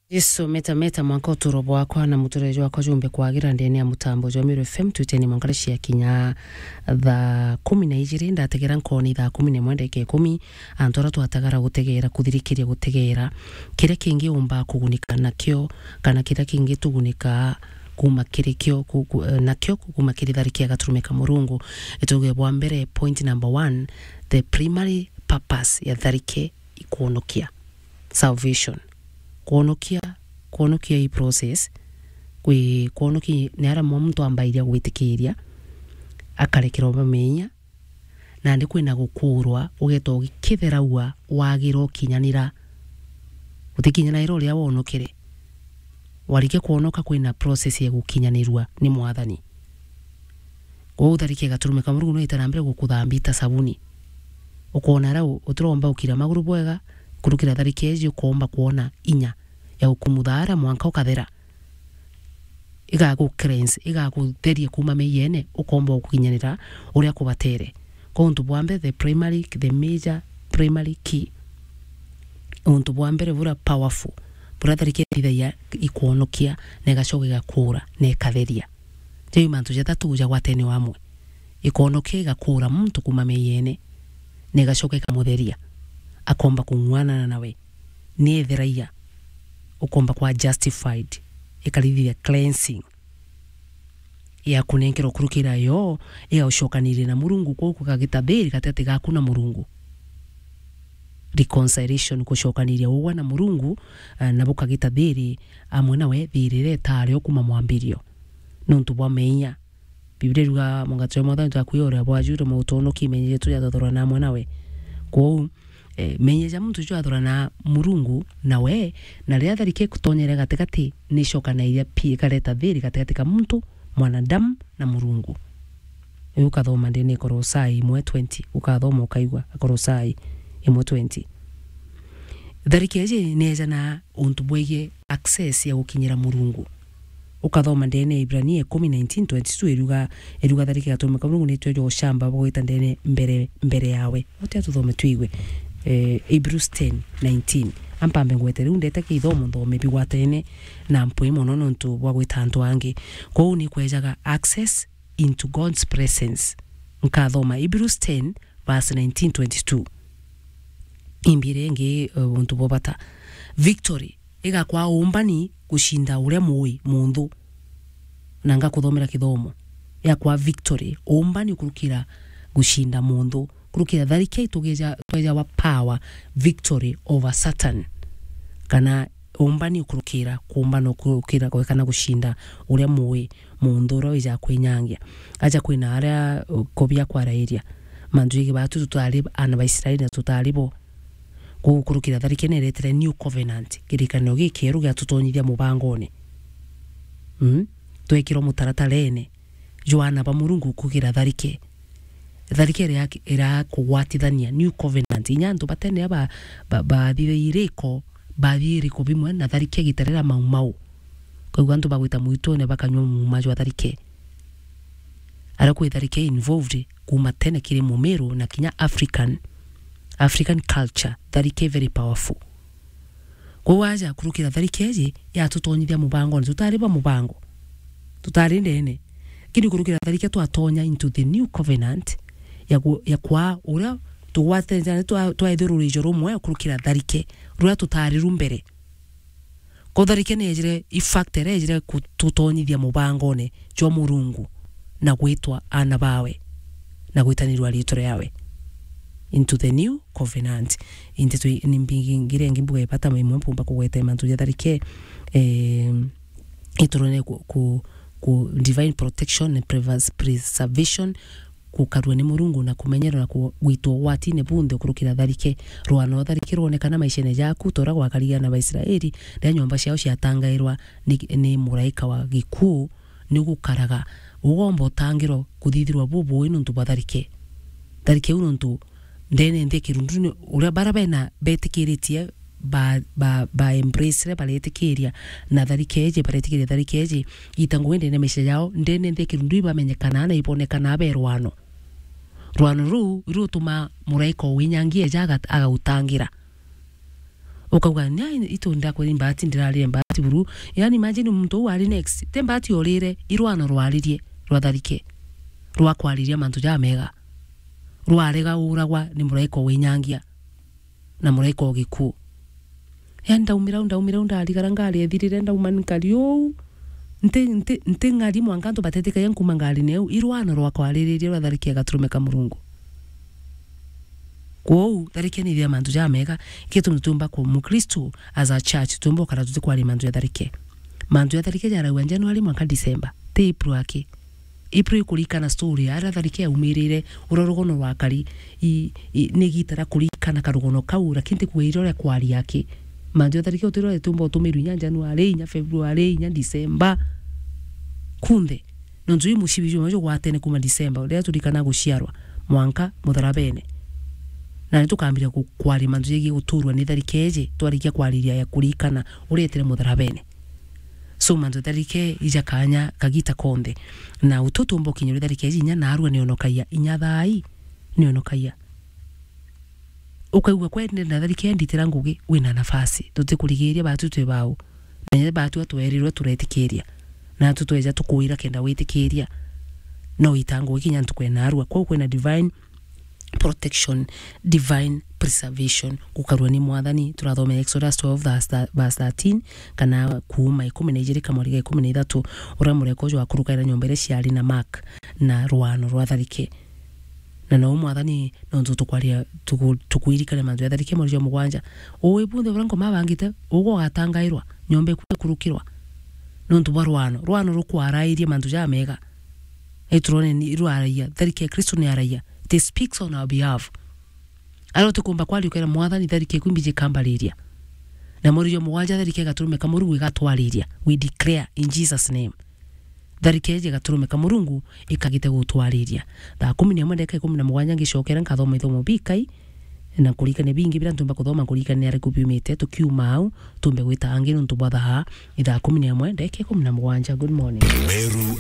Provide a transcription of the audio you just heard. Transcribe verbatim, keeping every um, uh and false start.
Jesu, meta, meta, mwanka uturo bwakwa na muturire jwakwa jumbe kwagira ndene ya mutambo jwa Meru F M, twiteni mwanka cia kinya thaa kumi na ijiri, ndategera nkoni thaa kumi na imwe ndagika ikumi, antu aria twatagara gutegera, kuthirikiria gutegera, kiria kingi umba kugunika nakio, kana kiria kingi tugunika kuma kiri kio, ku-, ku-, eh, nakio, kuma kiri tharike ya gaturume ka Murungu. Ituge bwa mbere, point number one, the primary purpose ya tharike ikwonokia. Salvation. Kwonokia, kwonokia i process, kwi kwonokia ni aria mwa muntu ambairia gwitikiria, akarekerwa bamenya, nandi kwina gukuurwa, ugeeta ugikitheraua, wagira ukinyanira. Utikinyanira uria wonokere. Warikia kwonoka, kwina process ya gukinyanirua ni Mwathani. Kwou tharike gaturume ka Murungu no ita na mbere gukuthambia ta sabuni. Ukoona aria u-, utiromba ukira maguru bwega, kurukira tharike iji ukomba kwona inya ya gukumutha aria mwanka ukathera. Igagu cleanse, igagutheria kuuma meiyene, ukomba gukinyanira uria kubatere. Kwa untu bwa mbere, the primary, the major primary key. Untu bwa mbere buria powerful, buria tharike ithithagia ikwonokia, na igacoka igakuura, na ikatheria. Jau mantu jathatu jagwatene o amwe. Ikonokia, igakuura muntu kuuma meiyene, na igacoka ikamutheria, akomba kung'uanana nawe. Ni etheragia, ukomba kwa justified, ikarithithia cleansing, ya kunenkerwa kurukira yo, igagucokaniria na Murungu, kwou kugagita thiri gatigati gaku na Murungu. Reconciliation, gucokaniria ugwe na Murungu, eh, na bukagita thiri amwe nawe, thiri iria itaari o kuuma mwambirio. Nontu bwa meeyia. Biblia iruga, "Mugate jwa Mwathani jwaku uria bwajure mautonoki, meeyia jetu jatwathurana amwe nawe." Kwou, eh, meeyia ja muntu jwathurana Murungu nawe, na riria tharike ikutonyere gatigati, ni icokanairia pi ikareta thiri gatigati ka muntu, mwanadamu, na Murungu. Uyu ukathoma ndene Kolosai imwe twenty, ukathoma ukaigua, Kolosai imwe twenty. Tharike iji ni ejana untu bwegie access ya gukinyira Murungu. Ukathoma ndene Ibrania ikumi nineteen twenty-two iruga, iruga tharike gaturume ka Murungu nitwe jo ucamba bwa gwita ndene mbere, mbere yawe. Utia tuthome twigue, eh, Hebrews ten nineteen. Ampambe ngwete riu ndete kithomo nthome bigwatene na mpwi mono nontu bwa gwita antu angi. Kwou ni kwejaga access into God's presence. Nkathoma Hebrews ten verse nineteen twenty-two. Imbire ingi, eh, untu bwa bata. Victory igakwa umbani gucinda uria mui munthu. Na ngakuthomera kithomo. Yakwa victory, umbani kurukira gucinda munthu. Kurukira tharike itugeja, twejawa power, victory over Satan. Kana umbani ukurukira, kuumbana ukurukira, kana gucinda uria mui munthu uria wija kwinyangia. Aja kwina aria, uh, kubi akwarairia. Mantu jigi batu tutari ana ba Israeli na tutari bo. Kwou kurukira tharike ni iretire new covenant, kirikaniro gikieru gia tutonyithia mubangone. Mm? Twekirwo mutaratarene jwa ana ba Murungu kugira tharike. Tharike iria, iria kugwatithania, new covenant. Inya antu batene ba, ba, bathithirie iriko, bathithia iriko bimwe na tharike igita riria mau mau. Koguo antu bagwita mwitune bakanyua muuma jwa tharike. Aria kwi tharike involved kuuma tene kiri Mumiru na kinya African, African culture, tharike very powerful. Kwou aja kurukira tharike iji yatutonyithia mubangone, tutari ba mubango. Tutari ndene. Lakini kurukira tharike twatonya into the new covenant ya ku-, ya kwa uria tugwatene twa-, twaithirwa ruijo rumwe kurukira tharike, ruria tutari ru mbere. Kutharike ni ejire, i fact iria ejire kututonyithia mubangone jwa Murungu na gwitwa ana bawe na gwitanirwa ritwa riawe into the new covenant. Into twi-, ni mbingi ngira ingi mbuga ibata imwe mpumba kugweta mantu ja tharike, eh, iturone ku, ku, ku divine protection and preservation, gukarua ni Murungu na kumenyerwa na ku-, gwitwa ugwatine bunthe ukurukira tharike. Rwano tharike rwonekana maishene jaku, ta uria gwakarire ana ba Israeli, riria nyomba ciao ciatangairwa ni, ni muraika wa gikuu, ni gukaraga. Ugomba utangirwa kuthithirwa bubui nontu bwa tharike. Tharike iu nontu ndene nthi ya kirundu ni uria bara bena betikiritie ba, ba, ba embrace re baretikiria na tharike iji, baretikiria tharike iji, ita ngugi ndene ya maisha yao, ndene nthi ya kirundu ibamenyekanaa na ibonekanaa be rwano. Rwano ruu rutuma muraika o winyangia eja agat-, agautangira. Ukauga, "Nya itu ndakwa ni mbati, ndirarire mbati buru." Yani, imagine muntu uu ari next. Te mbati orire, i rwano rwaririe, rwa Tharike, rwa kwariria mantu jamega. Rwarega uragwa ni muraika winyangia na muraika o gikuu. Yani, ndaumira u, ndaumira u, ndarigara ngari ethirire, ndauma nkari uu. Nti, nti, nti ng'ari mwanka antu batetikagia nkuma ngarine iu. I rwano rwa kwaririria rwa Tharike gaturume ka Murungu. Kwou, Tharike ni ithia mantu jamega, gitumi tuumba ku Mukristu, as a church, tuumba ukara tutikwaria mantu ja Tharike. Mantu ja Tharike jaraua January mwanka December, ti April aki. April ikurikana story, aria Tharike yaumirire, uria rugono rwakari, i, i, ni igita ria kurikana karugono kau, lakini ti kuuga iria uria kwari aki. Mantu ja Tharike utiro tuumba utumirwe inya January, inya February, inya December. Kunthe. Nontu ii mucibi jumwe jugwatene kuuma December, riria turikana guciarwa, mwanka mutharabene. Na ni tukambiria ku-, kwaria mantu jegie guturwa ni Tharike iji, twarikia kwariria ya kurikana uria etire mutharabene. So, mantu ja Tharike ija kanya kagita konthe. Na utu tuumba ukinya uria Tharike iji inya naarua nionokagia, inya thaai nionokagia. Ukaigua kwende na Tharike nditira ngugi, wina nafasi. Tutikurigiria batu twi bau. Na inya batu atwerirwe turetikiria. Na atu tweja tukwira kenda witikiria. No ita ngugi kinya ntuku ya naarua. Kwou kwina divine protection, divine preservation, gukarua ni Mwathani. Turathoma Exodus twelve verse thir-, verse thirteen, kana Kuuma ikumi na ijiri kamweri ga ikumi na ithatu, uria mureka uju wakurukaira nyomba iria ciari na Mark na rwano rwa Tharike. Na nou Mwathani, nontu tukwaria, tuku-, tukwirikania mantu ja Tharike mweri jwa mugwanja. Ui bunthe buria Nkoma abangite, ugwe ugatangairwa, nyomba iku ikurukirwa. Nontu bwa rwano, rwano rukwarairie mantu jamega. Iturone ni rwaragia, Tharike ya Kristo ni aragia. It speaks on our behalf. Aria utikumba kwaria ukera Mwathani, Tharike iku imbiji ikambariria. Na mweri jwa mugwanja, Tharike igaturume ka Murungu igatwariria. We declare in Jesus' name. Tharike iji igaturume ka Murungu ikagite gutwariria. Thaa kumi na imwe ndagika ikumi na mugwanja ngicokera nkathoma ithomo bikai, na kurikania bingi biria ntumba kuthoma, kurikania ariku biumite, tukiuma au, tumbe gwita angi nontu bwa thaa, ithaa kumi na imwe ndagika ikumi na mugwanja. Good morning. Meru